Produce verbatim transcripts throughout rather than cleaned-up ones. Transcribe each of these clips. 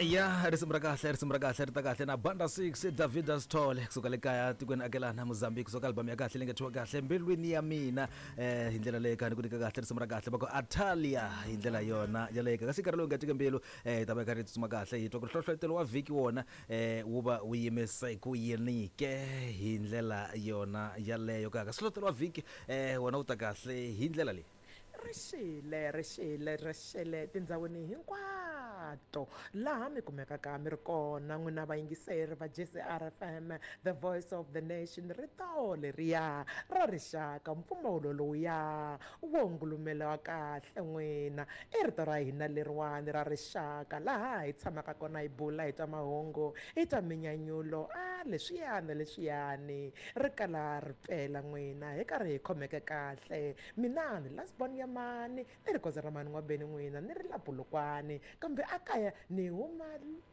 Ya, risimu ra kahle, risimu ra kahle ri ta kahle na Banda six, David Stole kusuka le kaya tikweni akelana Mozambique, kusuka album ya kahle leyi nga thyiwa kahle Mbilwini ya Mina. eh hi ndlela leyi kha ni ku nyika kahle risimu ra kahle va ku Atalia hi ndlela yona yaleyo. Kasi nkarhi lowu nga tika mbilu, eh hi ta va hi karhi hi tsutsuma kahle, hi twa ku hlohletelo wa vhiki wona eh wu va wu yimise ku yini ke hi ndlela yona yaleyo. Ka kasi hlohletelo wa vhiki eh wona wu ta kahle hi ndlela leyi. Rixile, rixile, rixile tindhawini hinkwato laha mi kumekaka mi ri kona n'wina vayingiseri va J C R F M, the voice of the nation. Rito leriya ra rixaka, mpfumawulo lowuya wo ngulumela kahle n'wina, i rito ra hina leriwani ra rixaka, laha hi tshamaka kona hi bula, hi twa mahungu, hi twa minyanyulo, a leswiyani leswiyani ri kala ri pela n'wina, hi karhi hi khomeke kahle. Mina ni lasbon ya mani, ni ri koza ra mani n'wabeni n'wina, ni ri la Pulukwani, kambe a kaya ni huma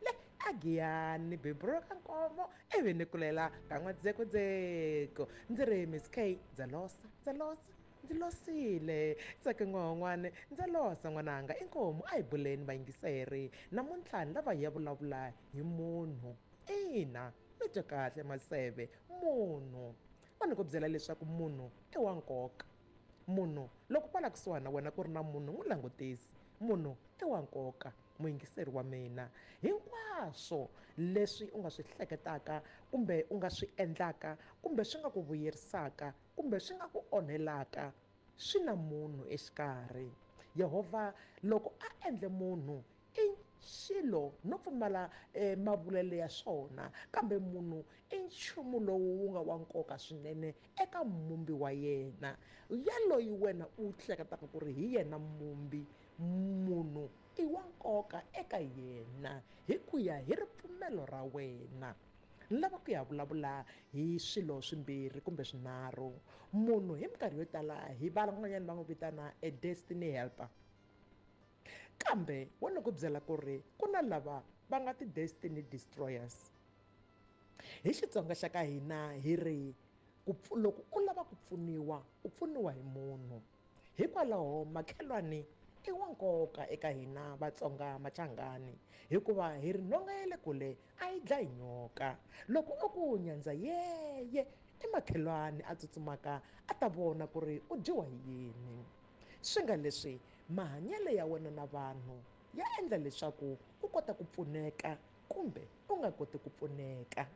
le aGiyani, ni beburiwa ka Nkomo, ivi ni kulela ka N'wadzekudzeko. Ndzi ri Miss K, ndza losa, ndza losa, ndzi losile tsake n'wan'wana, ndza losa n'wananga. Inkomu, a hi buleni vayingiseri. Namuntlha ni lava hi ya vulavula hi munhu. Ina, mi twe kahle, maseve, munhu. Va ni ku byela leswaku munhu i wa nkoka. Munhu, loko kwala kusuhani na wena ku ri na munhu, n'wi langutisi. Munhu i wa nkoka, muyingiseri wa mina. Hinkwaswo leswi u nga swi hleketaka kumbe u nga swi endlaka kumbe swi nga ku vuyerisaka kumbe swi nga ku onhelaka, swi na munhu exikarhi. Yehovha loko a endle munhu i xilo no pfumala eh, mavulelo ya swona, kambe munhu i nchumu lowu wu nga wa nkoka swinene eka mumbi wa yena. Yaloyi wena u hleketaka ku ri hi yena mumbi, munhu i wa nkoka eka yena hi ku ya hi ripfumelo ra wena. Ni lava ku ya vulavula hi swilo swimbirhi kumbe swinharhu. Munhu hi minkarhi yo tala hi van'wanyana va n'wi vitana a destiny helper, kambe wo ni ku byela ku ri ku na lava va nga ti-destiny destroyers. Hi Xitsonga xa ka hina hi ri ku loko u lava ku pfuniwa, u pfuniwa hi munhu. Hikwalaho makhelwani i wa nkoka eka hina Vatsonga Machangani, hikuva hi ri nhonga ya le kule a yi dlayi nyoka. Loko u ku nyandza yeye, i makhelwani a tsutsumaka a ta vona ku ri u dyiwa hi yini. Swi nga leswi mahanyelo ya wena na vanhu ya endla leswaku u kota ku pfuneka kumbe u nga koti ku pfuneka.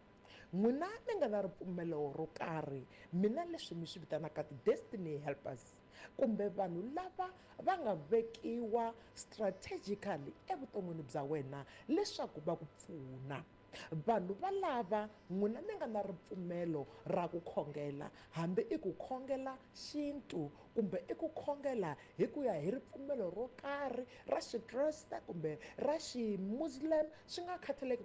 N'wina mi nga na ripfumelo ro karhi, mina leswi mi swi vitanaka ti-destiny helpers kumbe vanhu lava va nga vekiwa strategically evuton'wini bya wena leswaku va ku pfuna, vanhu valava n'wina mi nga na ripfumelo ra ku khongela, hambi i ku khongela xintu kumbe i ku khongela hi ku ya hi ripfumelo ro karhi ra Xikreste kumbe ra Ximuslim, swi nga khathaleki.